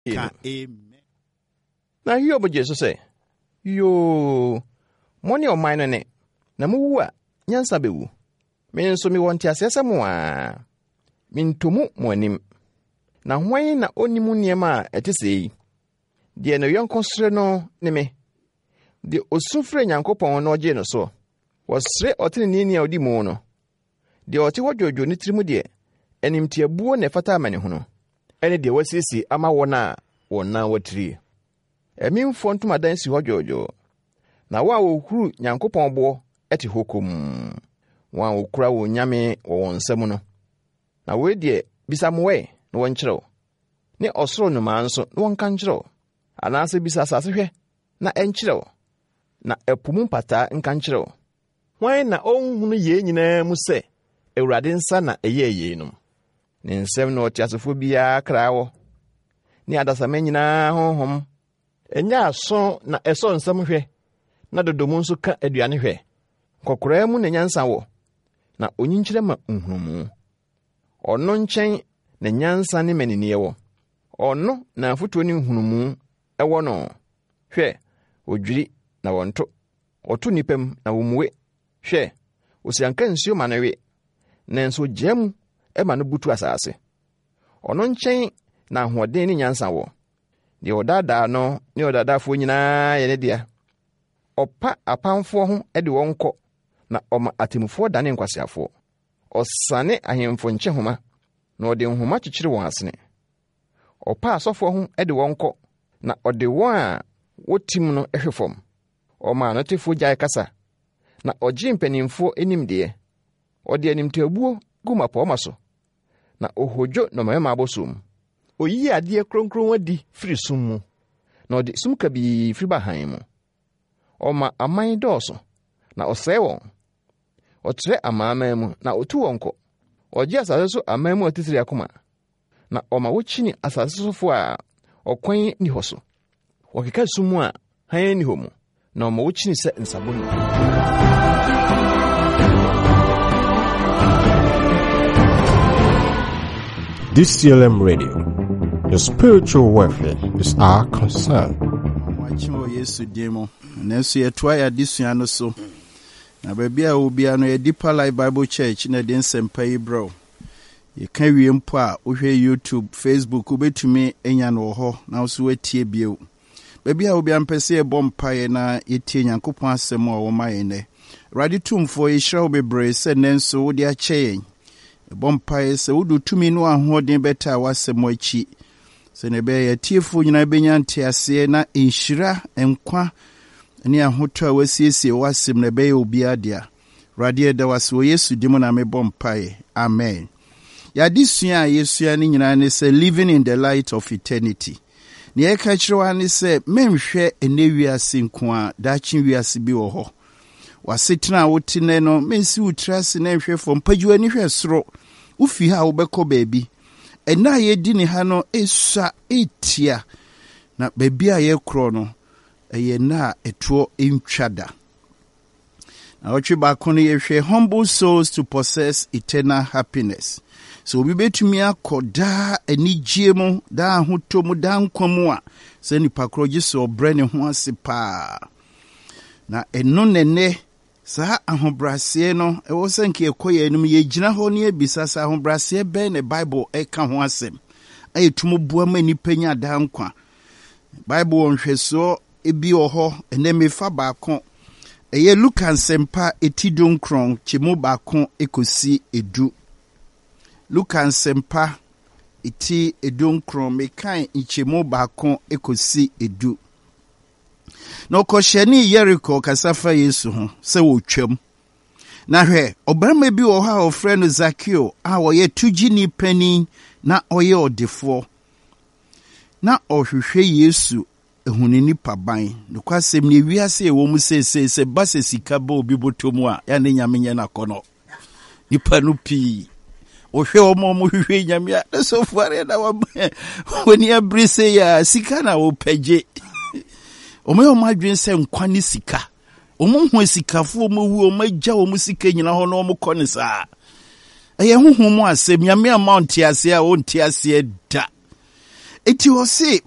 Ka amen. Na Hiob gyee so sɛ, Yoo, mo ne ɔman no ne, na muwu a, nyansa bewu. Me nso mewɔ nteaseɛ sɛ mo ara. Mentɔ mu mo anim. Na hwan na ɔnni mu nneɛma a ɛte sɛɛ yi? Deɛ ne yɔnko sere no ne me. Deɛ ɔsu frɛ Nyankopɔn na ɔgye no soɔ. Wɔsere ɔteneneeni a ɔdi mu no. Deɛ ɔte hɔ dwoodwoo ne tirim deɛ, animtiabuo na ɛfata amanehunu, ne deɛ wasiesie ama wɔn a wɔn nan watirie. Amimfoɔ ntomadan si hɔ dwoodwoo, na wɔn a wɔhuru Nyankopɔn boɔ te hɔ komm, wɔn a wɔkura wɔn nyame wɔ wɔn nsa mu no. Na wei deɛ, bisa mmoa ɛ, na wɔnkyerɛ wo, ne ɔsoro nnomaa nso, na wɔnka nkyerɛ wo, anaasɛ bisa asase hwɛ, na ɛnkyerɛ wo, na ɛpo mu mpataa nka nkyerɛ wo. Hwan na ɔnhunu yei nyinaa mu sɛ Awurade nsa na ɛyɛɛ yeinom? Ne nsam na ɔteasefoɔ biara kra wɔ, ne adasamma nyinaa honhom. Ɛnyɛ aso na ɛsɔ nsɛm hwɛ, na dodo mu nso ka aduane hwɛ. Nkɔkoraa mu na nyansa wɔ, na onyinkyerɛ ma nhunumu. Ɔno nkyɛn na nyansa ne mmaninneɛ wɔ. Ɔno na afotuo ne nhunumu wɔ no. Hwɛ, odwiri na wɔnto. Ɔto nnipa mu na wommue. Hwɛ, osianka nsuo ma no we, nanso ogyaa mu ma no butu asase. Ɔno nkyɛn na ahoɔden ne nyansa wɔ. Deɛ ɔdaadaa no ne ɔdaadaafoɔ nyinaa yɛ ne dea. Ɔpa apamfoɔ ho de wɔn kɔ, na ɔma atemmufoɔ dane nkwaseafoɔ. Ɔsane ahemfo nkyehoma, na ɔde nhoma kyekyere wɔn asene. Ɔpa asɔfoɔ ho de wɔn kɔ, na ɔde wɔn a wotim no hwe fam. Ɔma anotefoɔ gyae kasa, na ɔgye mpanimfoɔ nimdeɛ. Ɔde animtiabuo gu mmapɔmma so, na ɔhodwo nnɔmmarima abɔsoɔ mu. Ɔyi adeɛ kronkron adi firi sum mu, na ɔde sum kabii firi ba hann mu. Ɔma aman dɔɔso, na ɔsɛe wɔn. Ɔtrɛ amanaman mu, na ɔtu wɔn kɔ. Ɔgye asase so aman mu atitire akoma, na ɔma wokyini asase sofo a ɔkwan nni hɔ so. Wɔkeka sum mu a hann nni hɔ mu, na ɔma wokyini sɛ nsaboni. DCLM Radio, your spiritual welfare is our concern. Wakye wɔ Yesu din mu. Nanso yɛtoa yɛn adesua no so. Na baabi a ɛwɔ biara no, yɛ Deeper Life Bible Church na ɛde nsɛmpa yi brɛ wo. Yɛka wie mpo a, wohwɛ YouTube, Facebook, wobɛtumi anya no wɔ hɔ na wo nso woatie bio. Baabi a obiara mpɛ sɛ yɛbɔ mpaeɛ na yɛtie Nyankopɔn asɛm a ɔwɔ ma yɛn nnɛ. Awurade Tumfoɔ, yɛhyira wo bebree sɛ nnɛ nso wode akyɛ yɛn. Yɛbɔ mpaeɛ sɛ wode tumi ne ahoɔden bɛtaa w'asɛm akyi sɛnea ɛbɛyɛ yɛn atiefoɔ nyinaa bɛnya nteaseɛ na nhyira, nkwa ne ahotɔ a wasiesie w'asɛm na ɛbɛyɛ obiara dea. Awurade yɛda wo ase wɔ Yesu din mu na mebɔ mpaeɛ. Amen. Yɛadesua a yɛsua no nyinaa ne sɛ living in the light of eternity. Nea yɛka kyerɛ wo ne sɛ menhwɛ ɛnɛ wiase nko a, daakye wiase bi wɔ hɔ. W'asetena a wote nnɛ no, mensi wo tiri ase na nhwɛ fam. Pagya w'ani hwɛ soro. Wofi ha a wobɛkɔ baabi. Ɛnna a yɛdi ne ha no esua etia. Na baabi a yɛkorɔ no, ɛyɛ nna a ɛtoɔ ntwa da. Na ɔtwe baako no yɛhwɛ humble souls to possess eternal happiness. Sɛ obi bɛtumi akɔ daa anigyeɛ mu, daa ahotɔ mu, daa nkwa mu a, sɛ nipa korɔ gye sɛ ɔbrɛ ne ho ase paa. Na ɛno na ɛnnɛ saa ahobrɛaseɛ no ɛwɔ sɛ nka yɛkɔ yɛn anim yɛgyina hɔ ne yɛbisa sɛ ahobrɛaseɛ bɛn na Bible ɛka ho asɛm a ɛtumi boa ma nnipa nya daa nkwa. Bible wɔ nhwɛsoɔ bi wɔ hɔ ɛnɛ mefa baako ɛyɛ Luka nsɛmpa eti dunkron kyɛmu baako kɔsi edu. Luka nsɛmpa eti edunkron mekan nkyɛmu baako kɔsi edu. Na ɔkɔhyɛnee Yeriko kasa fa Yesu ho sɛ ɔretwam. Na hwɛ, ɔbarima bi wɔ hɔ a wɔfrɛ no Zakeo a ɔyɛ togyeni panin na ɔyɛ ɔdefoɔ. Na ɔhwehwɛ Yesu ahu ne nipaban. Nokwasɛm ni, wiase a ɛwɔ mu seesei, sɛ ba sɛ sika bɔ obi bɔtɔ mu a, yɛ ne Nyame nyɛ n'akɔnnɔ. Nipa no pii wɔhwɛ wɔn a wɔhwehwɛ nyame a na sɔfo are na wɔn ani abere sɛ yɛ a sika na wɔpɛ gye. Wɔn yɛ wɔn adwene sɛ nkwa ne sika. Wɔn ho asikafoɔ wɔn awu wɔn agya wɔn sika nyina hɔ na wɔn kɔ ne saa. Ɛyɛ honhom mu asɛm nyame ama ɔnte aseɛ a ɔnte aseɛ da. Eti ɔse.